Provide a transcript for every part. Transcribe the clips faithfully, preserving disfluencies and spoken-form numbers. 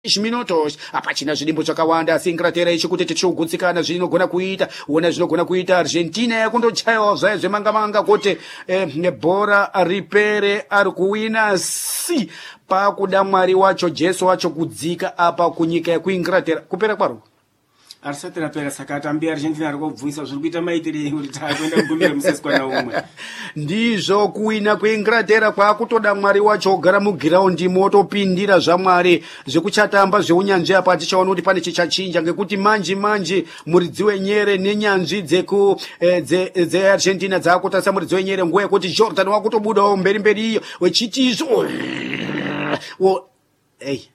Minutos hapachina zvidimbu zvakawanda, asi Inglaterra ichikuti tichigutsikana zvinogona kuita. Ona zvinogona kuita Argentina yakundochayawo zvayo zvemanga manga kuti eh, bhora ripere. Ari kuwina si pakuda Mwari wacho, Jesu wacho kudzika apa kunyika yekuInglaterra kupera kwaro. Arisati rapera, saka atambi Argentina ari kubvunisa zviri kuita maitirei kuti takuenda kugumira museswana umwe. Ndizvo, kuwina kweInglaterra kwakutoda Mwari wacho ogara mugiraundi motopindira zvaMwari zvekuchatamba zveunyanzvi. Apa tichaona kuti pane chichachinja, ngekuti manji manji muridzi wenyere nenyanzvi dzeku eh, dzeArgentina dze dzakutarisa muridzi wenyere nguva yekuti Jordan wakutobudawo mberi mberi iyo wechiti izvo wo ei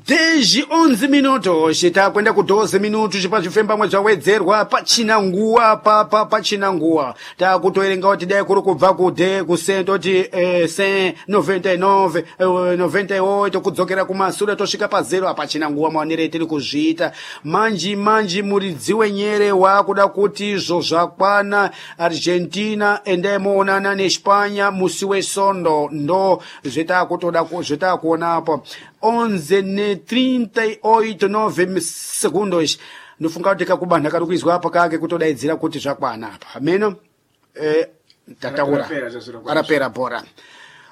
dez onze minutos, takwenda ku doze minutos pazvifembamwe zvawedzerwa. Pachina nguwa papa, pachina nguwa. Takutoerenga kuti dai kuri kubva kude kusentoti eh, se noventa e nove, eh, noventa e oito kudzokera kumasure tosvika pazero. Hapachina nguwa maonero etiri kuzviita manji manji. Muridzi wenyere waakuda kuti izvo zvakwana, Argentina endai moonana neSpanya musi wesondo. Ndo zvetakutoda zvetakuonapo. onze ne trinta e oito nove segundos. Ndofunga kuti kakubanha kari kuizwa apa kake kutodaidzira kuti zvakwana apa meno eh, tataura. Rapera bhora,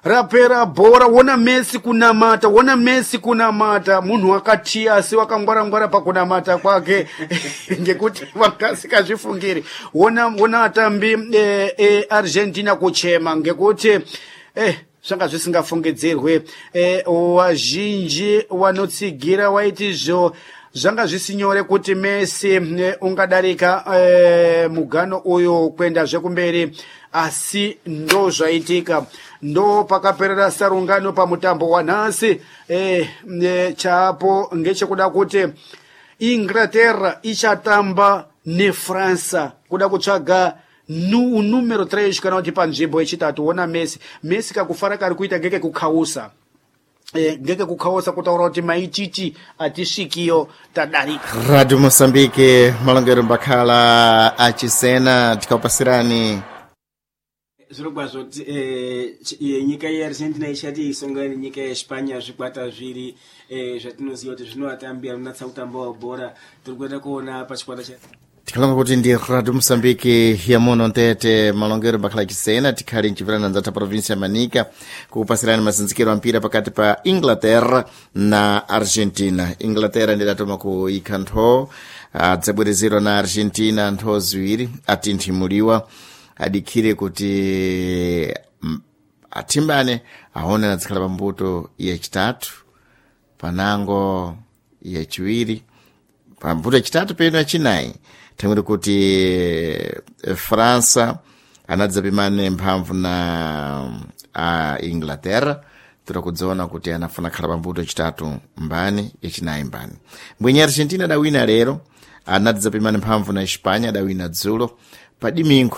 rapera bhora. Wona Messi kunamata, wona Messi kunamata. Munhu wakatiya asi wakangwara-ngwara pakunamata kwake, ngekuti vangasikazvifungiri. Wona, wona atambi eh, eh, Argentina kuchema ngekuti eh, zvanga zvisingafungidzirwe. Wazhinji wanotsigira waiti zvo zvanga zvisinyore kuti Messi ungadarika e, mugano uyu kuenda zvekumberi, asi ndo zvaitika. Ndo pakaperera sarungano pamutambo wanhasi. e, e, chapo ngechekuda kuti Inglaterra ichatamba neFransa kuda kutsvaga nu numero três kana kuti panzvimbo yechitatu. Wona Messi, Messi kakufara kari kuita ngeke kukhausa e, ngeke kukhausa kutaura kuti maititi atisvikiyo, tadarika. Radio Moçambique, malongero mbakhala achisena tikapasirani. Zviro kwazvo eh, nyika yeArgentina ichati isongana nenyika yeSpanya, zvikwata zviri eh, zvatinoziva kuti zvinovatambi anonatsa kutambawo bhora. Tiri kuenda kuona pachikwata cha Tikhalonga kuti ndi Radio Moçambique yamuno ntete, malongero mbakhala achisena tikhali mchipirana nzatha província ya Manica kukupasirani masinzikiro a mpira pakati pa Inglaterra na Argentina. Inglaterra ndidatoma kuikha ntho, adzabwerezedwa na Argentina ntho ziwiri. Atinthimuliwa, adikhire kuti athimbane aone anadzikhala pambuto yachitatu panango yachiwiri, pambuto yachitatu peno yachinayi, thangwiri kuti França anadzapimane mphamvu na a Inglaterra. Tira kudziona kuti anafuna khala pambuto yachitatu mbani, yachinayi mbani. Mbwenye Argentina adawina lero, anadzapimane mphamvu na Espanya, adawina dzulo padimingo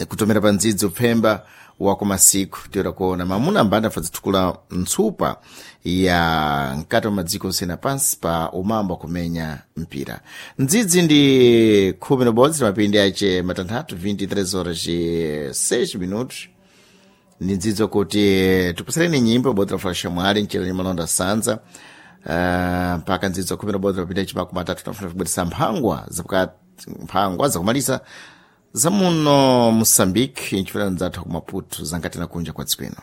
kutomera pa ndzidzo pfemba wakumasiku. Toera kuona mamuna ambanda afadzithukula ntsupa ya mkati wa madziko osiyana pansi pa umambo kumenya mpira. Ndzidzi ndi khumi na bodzi na mapindi ace matanthatu, vinte e três horas e seis minutos. Ndi ndzidzo kuti tipusireni nyimbo bodzi la Flasha Mwali mchera malonda sanza uh, mpaka ndzidzo khumi na bodzi na mapindi ace makumi atatu nafuna kubweresa mphangwa zapakati, mphangwa zakumalisa zamuno Moçambique, nchifuna ndzatha ku Maputo zangatina kunja kwa dziko ino.